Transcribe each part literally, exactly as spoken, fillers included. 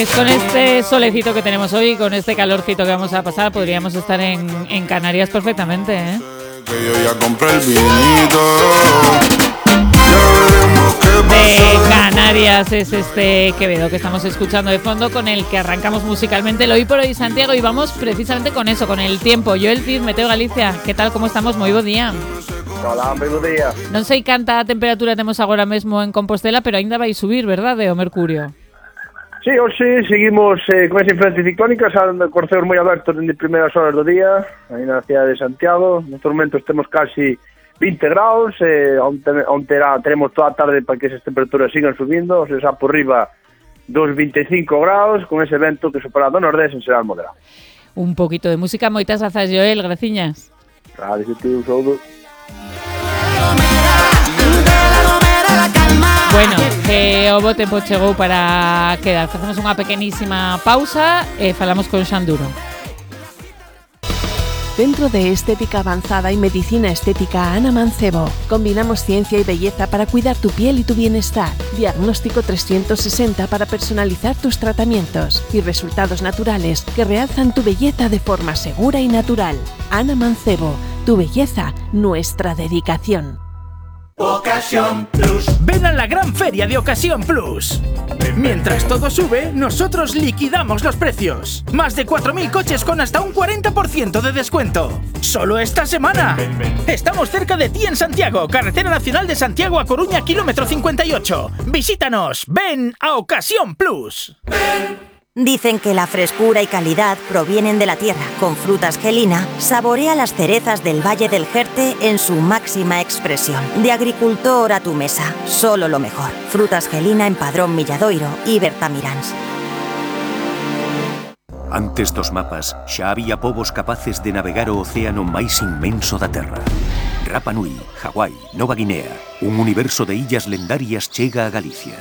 Con este solecito que tenemos hoy, con este calorcito que vamos a pasar, podríamos estar en, en Canarias perfectamente, ¿eh? Que yo ya compré el vinito. De Canarias es este Quevedo que estamos escuchando de fondo, con el que arrancamos musicalmente el Hoy por Hoy Santiago, y vamos precisamente con eso, con el tiempo. Joel Cid, Meteo Galicia, ¿qué tal, como estamos? Moi bo día. Hola, moi bo día. Non sei canta temperatura temos agora mesmo en Compostela, pero aínda vai subir, verdade, o mercurio? Sí, hoxe seguimos eh, con esa influencia ciclónica, salen corceos moi abertos dende primeiras horas do día, aí na cidade de Santiago. Nestes momentos temos casi vinte graus, eh, onte, onte era, teremos toda a tarde para que esas temperaturas sigan subindo, o sea, xa por riba dos vinte e cinco graus, con ese vento que supera do nordés en será moderado. Un poquito de música, moitas grazas, Joel, graciñas. Gracias a ti, un saúdo. Bueno, que o bo tempo chegou para quedar. Facemos unha pequenísima pausa e falamos con Xanduro. Centro de Estética Avanzada y Medicina Estética Ana Mancebo. Combinamos ciencia y belleza para cuidar tu piel y tu bienestar. Diagnóstico trescientos sesenta para personalizar tus tratamientos y resultados naturales que realzan tu belleza de forma segura y natural. Ana Mancebo, tu belleza, nuestra dedicación. Ocasión Plus. Ven a la gran feria de Ocasión Plus. Mientras todo sube, nosotros liquidamos los precios. Más de cuatro mil coches con hasta un cuarenta por ciento de descuento. Solo esta semana. Estamos cerca de ti en Santiago, Carretera Nacional de Santiago a Coruña, kilómetro cincuenta y ocho. Visítanos. Ven a Ocasión Plus. Ven. Dicen que la frescura y calidad provienen de la tierra. Con Frutas Gelina, saborea las cerezas del Valle del Jerte en su máxima expresión. De agricultor a tu mesa, solo lo mejor. Frutas Gelina en Padrón Milladoiro y Bertamiráns. Antes dos mapas, xa había povos capaces de navegar o océano máis inmenso da Terra. Rapa Nui, Hawái, Nova Guinea, un universo de illas lendarias chega a Galicia.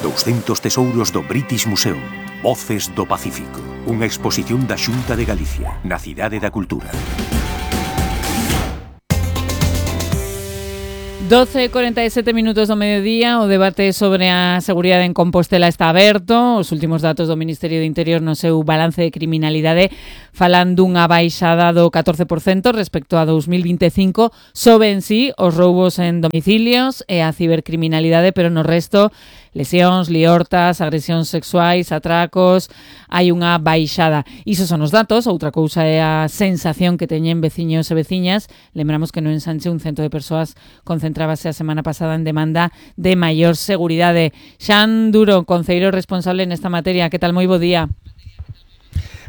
doscientos tesouros do British Museum. Voces do Pacífico. Unha exposición da Xunta de Galicia, na Cidade da Cultura. doce e cuarenta e sete minutos do mediodía, o debate sobre a seguridade en Compostela está aberto. Os últimos datos do Ministerio de Interior no seu balance de criminalidade falan dunha baixada do catorce por cento respecto a dos mil vinte e cinco. Soben sí os roubos en domicilios e a cibercriminalidade, pero no resto, lesións, liortas, agresións sexuais, atracos, hai unha baixada. Iso son os datos, outra cousa é a sensación que teñen veciños e veciñas. Lembramos que no Ensanche un cento de persoas concentrábase a semana pasada en demanda de maior seguridade. Xan Duro, concelleiro responsable nesta materia, que tal? Moi bo día.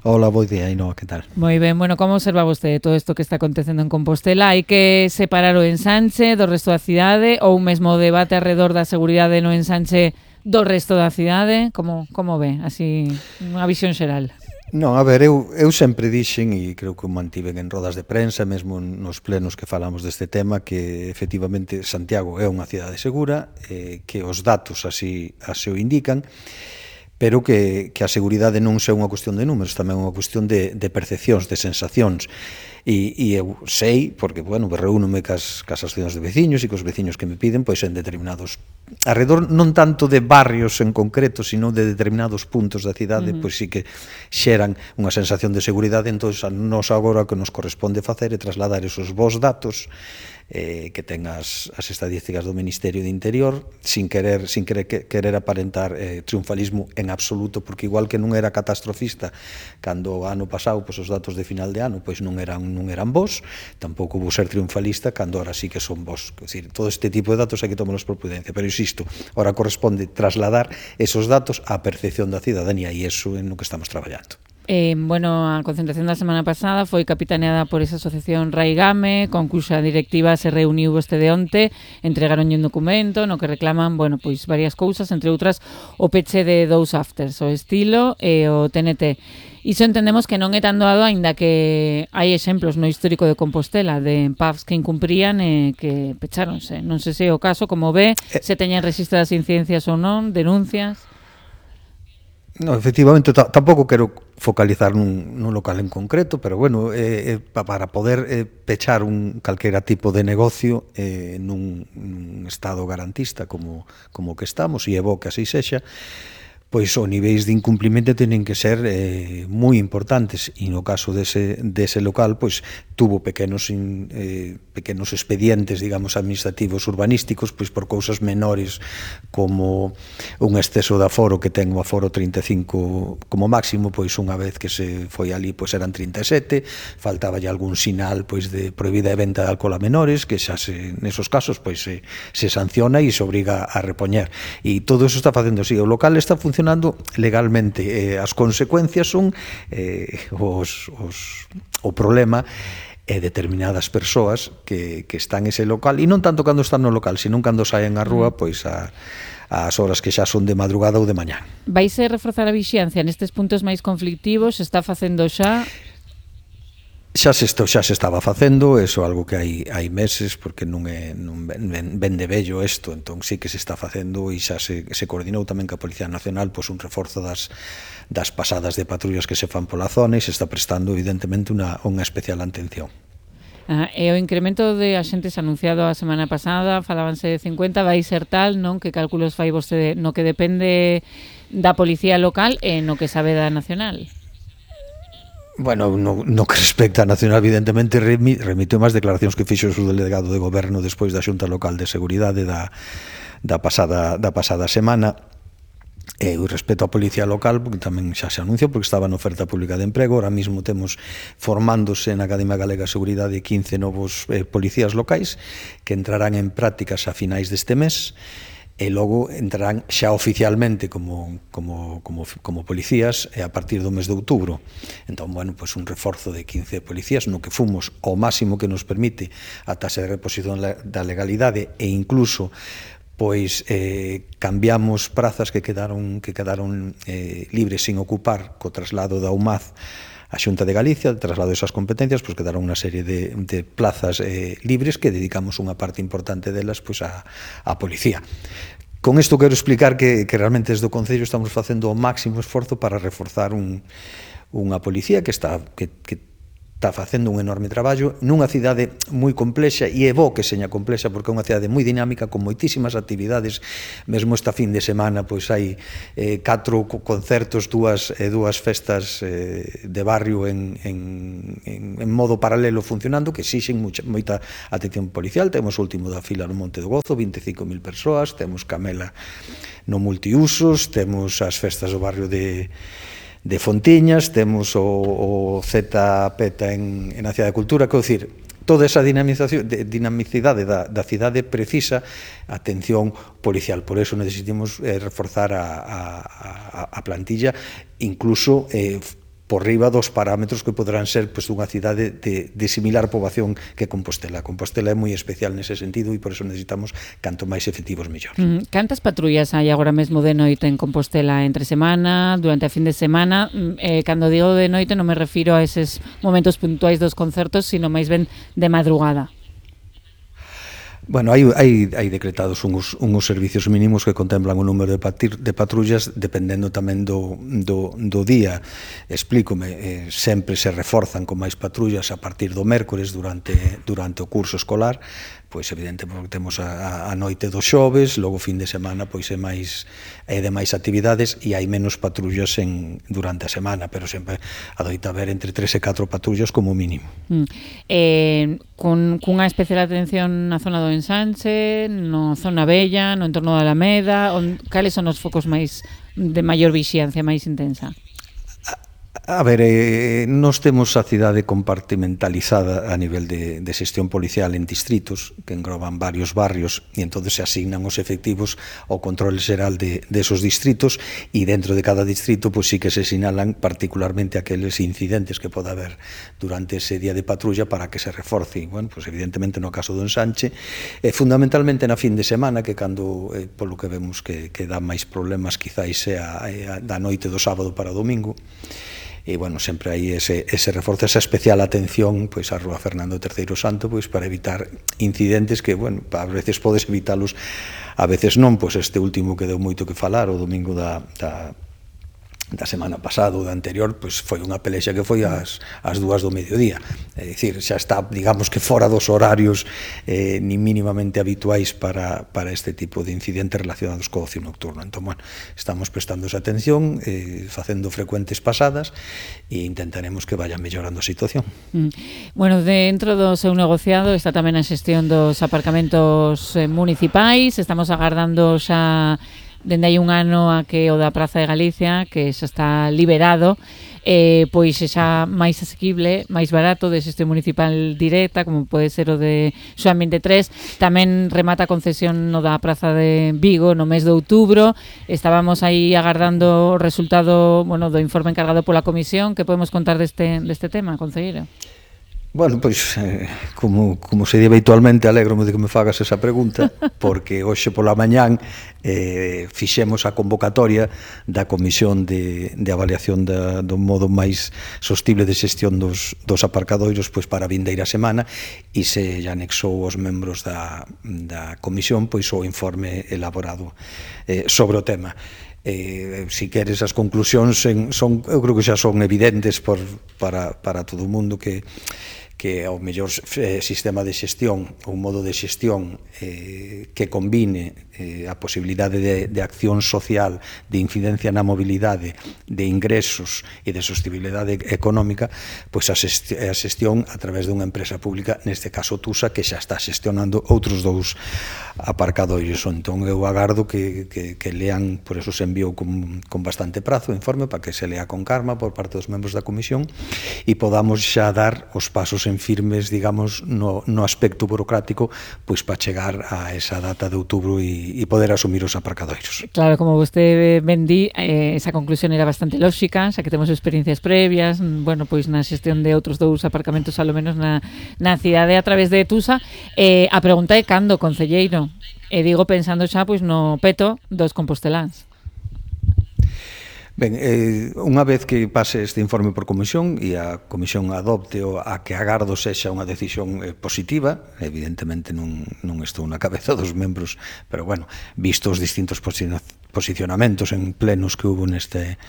Hola, bo día, Ainhoa, que tal? Moi ben, bueno, como observa vostede todo isto que está acontecendo en Compostela? Hai que separar o Ensanche do resto da cidade, ou mesmo o debate alrededor da seguridade no Ensanche do resto da cidade? Como, como ve? Así, unha visión xeral. Non, a ver, eu, eu sempre dixen, e creo que o mantiven en rodas de prensa, mesmo nos plenos que falamos deste tema, que efectivamente Santiago é unha cidade segura, eh, que os datos así, así o indican, pero que, que a seguridade non é unha cuestión de números, tamén é unha cuestión de, de percepcións, de sensacións. E, e eu sei, porque, bueno, reúnome cas, cas asociacións de veciños e cos veciños que me piden, pois en determinados, alrededor non tanto de barrios en concreto, sino de determinados puntos da cidade, uh-huh. pois sí que xeran unha sensación de seguridade. Entón, a nos agora o que nos corresponde facer é trasladar esos bons datos eh, que ten as, as estadísticas do Ministerio de Interior, sin querer sin querer, querer aparentar eh, triunfalismo en absoluto, porque igual que non era catastrofista cando o ano pasado, pois os datos de final de ano pois non eran non eran bons, tampouco vou ser triunfalista cando ahora sí que son bons. É dicir, todo este tipo de datos hai que tomarlos por prudencia, pero insisto, ahora corresponde trasladar esos datos á percepción da cidadanía, e iso é no que estamos traballando. Eh, bueno, a concentración da semana pasada foi capitaneada por esa asociación Raigame, con cuxa directiva se reuniu este de onte, entregaron un documento no que reclaman, bueno, pois varias cousas, entre outras o peche de dous afters, o Estilo e o T N T. Iso entendemos que non é tan doado, aínda que hai exemplos no histórico de Compostela de pubs que incumprían e que pecháronse. Non sei se é o caso, como ve, se teñen registradas incidencias ou non, denuncias. No, efectivamente, t- tampouco quero focalizar nun, nun local en concreto, pero bueno, eh, eh, para poder eh, pechar un calquera tipo de negocio eh, nun, nun estado garantista como, como que estamos, e é bo que así sexa, pois os niveis de incumplimento tenen que ser eh, moi importantes, e no caso dese, dese local pois tuvo pequenos in, eh, pequenos expedientes, digamos, administrativos urbanísticos, pois por cousas menores como un exceso de aforo, que ten o aforo trinta e cinco como máximo, pois unha vez que se foi ali pois eran trinta e sete, faltaba ya algún sinal pois de prohibida de venta de alcohol a menores, que xa se, nesos casos pois se, se sanciona e se obriga a repoñer, e todo eso está facendo así. O local está funcionando legalmente, eh, as consecuencias son eh, os, os, o problema e determinadas persoas que, que están ese local, e non tanto cando están no local, sino cando saen á rúa, pois a as horas que xa son de madrugada ou de mañá. Vaise reforzar a vixiancia nestes puntos máis conflictivos? Está facendo xa? Xa se, esto, xa se estaba facendo, eso é algo que hai, hai meses, porque non é non ven, ven de vello isto, entón sí que se está facendo, e xa se, se coordinou tamén ca Policía Nacional pois un reforzo das, das pasadas de patrullas que se fan pola zona, e se está prestando evidentemente unha, unha especial atención. Ah, e o incremento de axentes anunciado a semana pasada, falábanse de cincuenta, vai ser tal, non? Que cálculos fai vostede no que depende da Policía Local e no que sabe da Nacional? Bueno, no, no que respecta a Nacional, evidentemente, remite máis declaracións que fixo o subdelegado de Goberno despois da Xunta Local de Seguridade da, da, pasada, da pasada semana. E o respeto á Policía Local, porque tamén xa se anuncia, porque estaba na oferta pública de emprego. Ahora mismo temos formándose na Academia Galega de Seguridade quince novos eh, policías locais que entrarán en prácticas a finais deste mes, e logo entrarán xa oficialmente como, como, como, como policías a partir do mes de outubro. Entón, bueno, pues un reforzo de quince policías no que fomos ao máximo que nos permite a taxa de reposición da legalidade, e incluso pois eh, cambiamos prazas que quedaron que quedaron eh, libres sin ocupar co traslado da U M A Z a Xunta de Galicia, de traslado desas competencias, pois quedaron unha serie de, de plazas eh, libres que dedicamos unha parte importante delas pois a, a policía. Con isto quero explicar que, que realmente desde o Concello estamos facendo o máximo esforzo para reforzar un, unha policía que está que, que está facendo un enorme traballo nunha cidade moi complexa, e é bo que seña complexa porque é unha cidade moi dinámica con moitísimas actividades. Mesmo esta fin de semana pois hai eh, catro concertos, dúas, eh, dúas festas eh, de barrio en, en, en, en modo paralelo funcionando, que exixen mucha, moita atención policial. Temos o último da fila no Monte do Gozo, vinte e cinco mil persoas, temos Camela no multiusos, temos as festas do barrio de de Fontiñas, temos o, o Z Peta en, en a Cidade da Cultura, quero dicir, toda esa dinamización, de, dinamicidade da, da cidade precisa atención policial. Por eso necesitamos eh, reforzar a, a, a plantilla, incluso eh, por riba dos parámetros que poderán ser pues, dunha cidade de, de similar poboación que Compostela. Compostela é moi especial nese sentido, e por eso necesitamos canto máis efectivos mellor. Mm, cantas patrullas hai agora mesmo de noite en Compostela entre semana, durante a fin de semana? Eh, cando digo de noite non me refiro a eses momentos puntuais dos concertos, sino máis ben de madrugada. Bueno, hai, hai, hai decretados uns, uns servicios mínimos que contemplan o número de, patir, de patrullas dependendo tamén do, do, do día. Explícome, eh, sempre se reforzan con máis patrullas a partir do mércores durante, durante o curso escolar, pois evidentemente porque temos a, a noite dos xoves, logo fin de semana pois é máis é de máis actividades, e hai menos patrullas en, durante a semana, pero sempre adoita haber entre tres e catro patrullas como mínimo. Mm. Eh, con cunha especial atención na zona do Ensanche, no zona Bella, no entorno da Alameda, on, cales son os focos máis de maior vixiancia, máis intensa? A ver, eh, nos temos a cidade compartimentalizada a nivel de, de xestión policial en distritos que engloban varios barrios, e entón se asignan os efectivos ao control xeral de, de esos distritos, e dentro de cada distrito pois sí que se sinalan particularmente aqueles incidentes que pode haber durante ese día de patrulla para que se reforce. Bueno, pois evidentemente no caso do Ensanche, eh, fundamentalmente na fin de semana, que cando, eh, polo que vemos que, que dá máis problemas quizáis sea eh, da noite do sábado para o domingo. E, bueno, sempre hai ese, ese reforzo, esa especial atención pois a Rúa Fernando terceiro Santo pois para evitar incidentes que, bueno, a veces podes evitalos, a veces non, pois este último que deu moito que falar, o domingo da, da, da semana pasada ou da anterior, pois foi unha pelexa que foi ás, ás dúas do mediodía. É dicir, xa está, digamos que fora dos horarios eh, ni mínimamente habituais para, para este tipo de incidentes relacionados co ocio nocturno. Entón, bueno, estamos prestando esa atención, eh, facendo frecuentes pasadas e intentaremos que vaya mellorando a situación. Mm. Bueno, dentro do seu negociado está tamén a xestión dos aparcamentos eh, municipais. Estamos agardando xa dende hai un ano a que o da Praza de Galicia, que xa está liberado, eh, pois xa máis asequible, máis barato, de xestión municipal directa, como pode ser o de Xoán vinte e tres. Tamén remata a concesión no da Praza de Vigo no mes de outubro. Estábamos aí agardando o resultado, bueno, do informe encargado pola comisión. Que podemos contar deste, deste tema, concelleiro? Bueno, pois, eh, como, como se di habitualmente, alégrome de que me fagas esa pregunta, porque hoxe pola mañán eh, fixemos a convocatoria da Comisión de, de Avaliación da, do modo máis sostible de xestión dos, dos aparcadoiros pois para a vindeira semana, e se lle anexou aos membros da, da Comisión pois o informe elaborado eh, sobre o tema. Eh, si queres as conclusións en, son, eu creo que xa son evidentes por, para, para todo o mundo que que o mellor eh, sistema de xestión, un modo de xestión eh, que combine eh, a posibilidade de, de acción social, de incidencia na mobilidade, de ingresos e de sostenibilidade económica, pois a xestión a través dunha empresa pública, neste caso Tusa, que xa está xestionando outros dous aparcadoiros. Entón eu agardo que, que, que lean, por eso se enviou con, con bastante prazo o informe, para que se lea con calma por parte dos membros da comisión e podamos xa dar os pasos en firmes, digamos, no, no aspecto burocrático, pois para chegar a esa data de outubro e, e poder asumir os aparcadoiros. Claro, como vostede ben di, eh, esa conclusión era bastante lóxica, xa que temos experiencias previas, bueno, pois na xestión de outros dous aparcamentos, alo menos na, na cidade a través de Tusa. Eh, a pregunta é cando, concelleiro? E digo pensando xa pois no peto dos composteláns. Ben, eh, unha vez que pase este informe por comisión e a comisión adopte o a que agardo sexa unha decisión eh, positiva, evidentemente non, non estou na cabeza dos membros, pero bueno, visto os distintos posicionamentos en plenos que hubo neste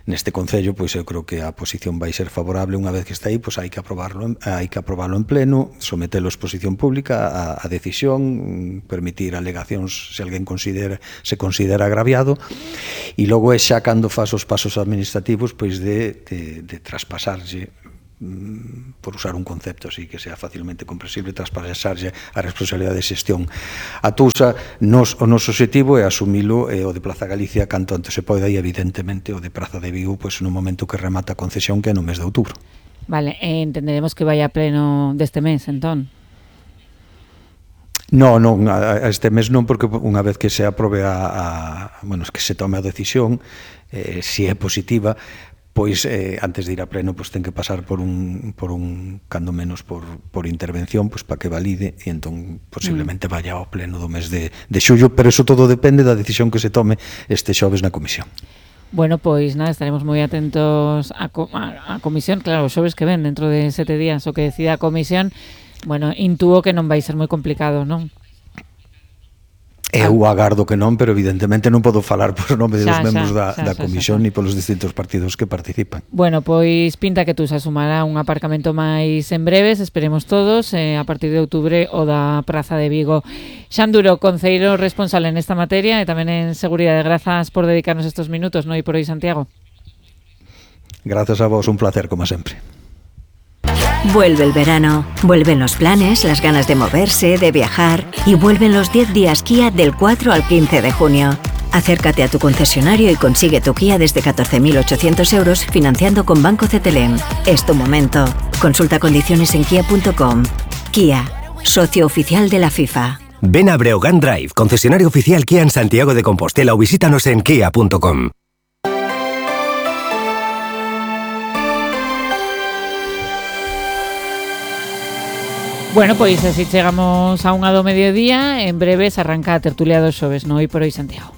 neste concello, pois eu creo que a posición vai ser favorable. Unha vez que está aí, pois hai que aprobarlo, hai que aprobarlo en pleno, sometelo a exposición pública, a, a decisión, permitir alegacións se alguén considera, se considera agraviado, e logo é xa cando faz os pasos administrativos pois de, de, de traspasarlle, por usar un concepto así que sea facilmente comprensible, traspasarlle a responsabilidade de xestión a Tusa. Nos, o noso objetivo é asumilo eh, o de Plaza Galicia canto antes se pode, e evidentemente o de Praza de Vigo pois no momento que remata a concesión, que é no mes de outubro. Vale, eh, entenderemos que vai a pleno deste mes, entón? Non, non, a este mes non, porque unha vez que se aprobe a, a bueno, que se tome a decisión, eh, si é positiva, pois eh, antes de ir a pleno pois ten que pasar por un, por un cando menos por, por intervención, pois para que valide, e entón posiblemente vaya ao pleno do mes de, de xullo, pero eso todo depende da decisión que se tome este xoves na comisión. Bueno, pois nada, estaremos moi atentos a, a, a comisión, claro, os xoves que ven dentro de sete días o que decida a comisión. Bueno, intuo que non vai ser moi complicado, non? Eu agardo que non, pero evidentemente non podo falar por nome dos xa, membros xa, da, xa, da xa, comisión xa, xa. ni polos distintos partidos que participan. Bueno, pois pinta que tú se asumará un aparcamento máis en breves, esperemos todos, eh, a partir de outubro o da Praza de Vigo. Xan Duro, concelleiro responsable nesta materia e tamén en seguridade, grazas por dedicarnos estos minutos, non? E por hoy, Santiago. Grazas a vos, un placer como sempre. Vuelve el verano, vuelven los planes, las ganas de moverse, de viajar y vuelven los diez días Kia del cuatro al quince de junio. Acércate a tu concesionario y consigue tu Kia desde catorce mil ochocientos euros financiando con Banco Cetelem. Es tu momento. Consulta condiciones en kia punto com. Kia, socio oficial de la FIFA. Ven a Breogán Drive, concesionario oficial Kia en Santiago de Compostela, o visítanos en kia punto com. Bueno, pois así chegamos a unha do mediodía. En breves arranca a tertulia dos xoves, no Hoy por Hoy Santiago.